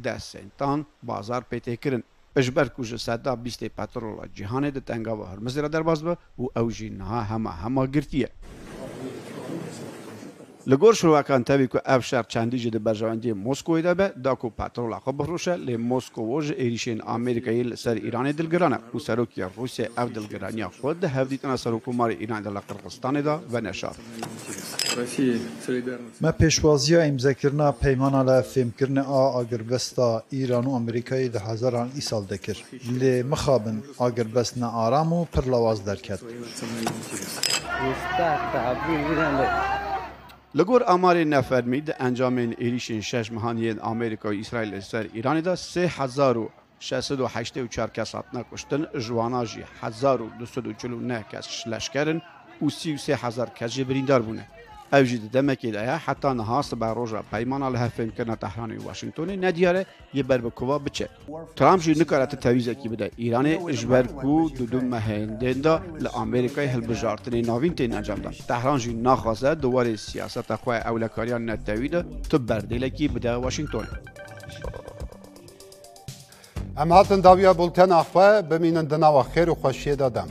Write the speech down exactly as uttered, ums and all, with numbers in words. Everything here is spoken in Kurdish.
deh sentan bazar pê tê kirin. Ji ber ku ji seda bîstê petrola cîhanê di tengava Hormizê re derbas be û ew jî niha hema hema girtî ye. Li gor şirovekan tevî ku ev şer çendî jî di berjewendiyê Moskowê de be, da ku petrola xwe bifroşe, lê Moskowo ji êrîşên Amerîkayê li ser Îranê dilgiran e û serokê Rûsya ev dilgiraniya xwe di hevdîtina Serokkomarê Îranê de li Qirxizistanê de veneşand. Me pêşwaziya îmzekirina peymana li hevfêmkirinê a agirbesta Îran û Amerîkayê di hezaran îsal de kir. Lê mixabin agirbest ne aram û pir lawaz derket. Li gor amarên nefermî, di encamên êrîşên şeş mehan yên Amerîka û Îsraîl li ser Îranê de sê hezar û şeş sed û heştê û çar kes hatine kuştin, ji wana jî hezar û du sed û çil û neh kes leşker in û sî û sê hezar kes jî birîndar bûne. Ev jî di demekê de ye, heta niha siberoja peymana li hevfêmkirina Tehranê û Washingtonê nediyar e yê ber bi kova biçe. Trump jî nikare ti tevîzekî bide Îranê, ji ber ku di du mehên din de li Amerîkayê hilbijartinên navîn tên encamdan. Tehran jî naxwaze di warê siyaseta xwe ewlekariya netewî de tu berdêlekî bide Washingtonê. Em hatin dawiya bultena xwe, bimînin di nava xêr û xweşiyê de dem.